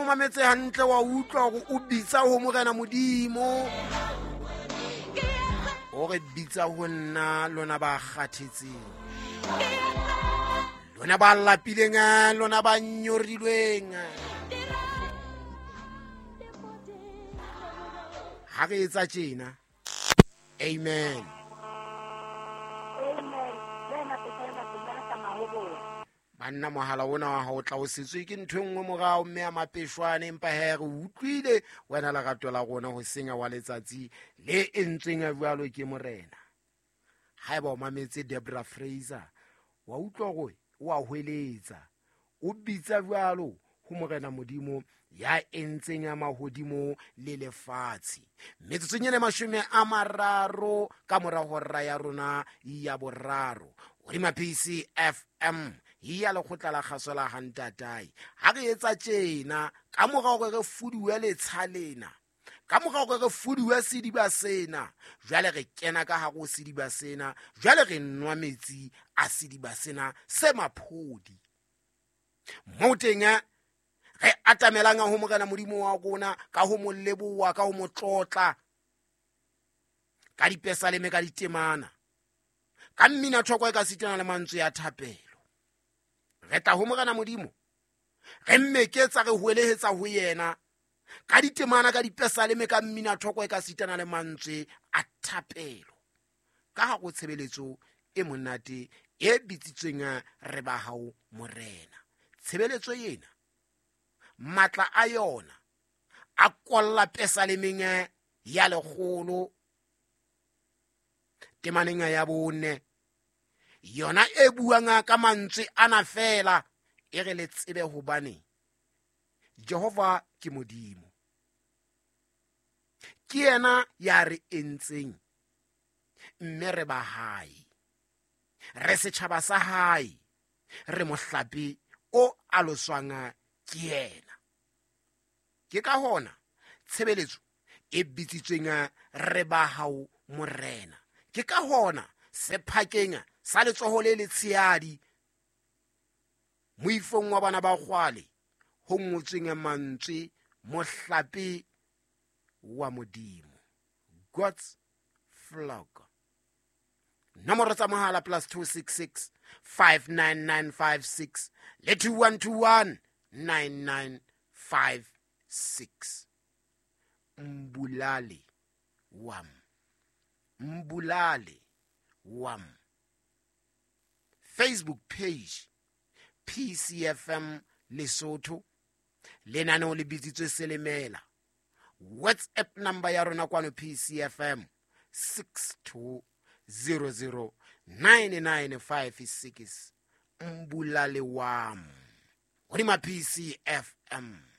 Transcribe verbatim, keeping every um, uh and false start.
mo mametse hantle wa utlwa hore o bitsa ho Morena Modimo. O re bitsa ho nna lona ba kgathetseng, lona ba lapileng, lona ba nyorilweng. Ha re etsa tjena, amen. Banna mohala ona wa hao tla o setswe ke ntho e nngwe morao mme a mapeshwane, empa he re utlwile wena lerato la rona ho senya wa letsatsi le entsweng jwalo ke Morena. Haeba o mametse Debra Fraser, wa utlwa hore o a hweletsa, o bitsa jwalo ho Morena Modimo ya entseng ya mahodimo le lefatshe. Metsotsong e mashome a mararo ka mora hora ya rona ya boraro, hodima P C F M ya lekgotla la kgaso la Hantatae. Ha re etsa tjena, ka mora hore re fuduwe letsha lena, ka mora hore re fuduwe sediba sena, jwale re kena ka hare ho sediba sena, jwale re nwa metsi a sediba sena se maphodi. Moo teng re atamelang ho Morena Modimo wa rona ka ho mo leboha, ka ho mo tlotla, ka dipesaleme, ka ditemana, ka mmina thoko e ka sitana le mantswe ya thapelo. Re tla ho Morena Modimo, re mmeketsa, re hwelehetsa ho yena ka ditemana, ka dipesaleme, ka mmina thoko e ka sitana le mantswe a thapelo, ka ha go tshebeletso e monate e bitsitsweng re ba hao Morena. Tshebeletso ena matla a yona a kolla pesalemeng ya lekgolo temaneng ya bone, yona e buang ka mantswe ana fela, e re le tsebe hobane Jehova ke Modimo, ke yena ya re entseng mme re ba hae, re setjhaba sa hae, re mohlape o aloswang ke yena. Ke ka hona tshebeletso e bitsitsweng re ba hao Morena. Ke ka hona sephakeng sa letsoho le letshehadi moifong wa bana ba kgwale ho ngotsweng mantswe mohlape wa Modimo, God's flock. Nomoro tsa mohala plus two six six five nine nine five six le two one two one nine nine five six. Mbulale wam, Mbulale wam. Facebook page P C F M Lesotho, lenaneo le bitsitswe Selemela. WhatsApp number ya rona kwano P C F M six two zero zero nine nine five six. Mbulale wam hodima P C F M.